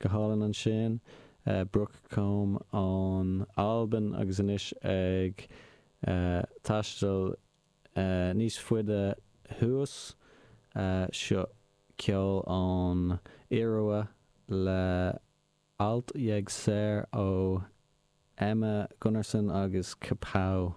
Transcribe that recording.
Go hálainn ansin. Brooke Combe ón Albain agus anois ag taisteal níos faide thuas. Seo ceol ón Iorua le Alt jeg ser ó Emma Gunnarsson agus Kapow.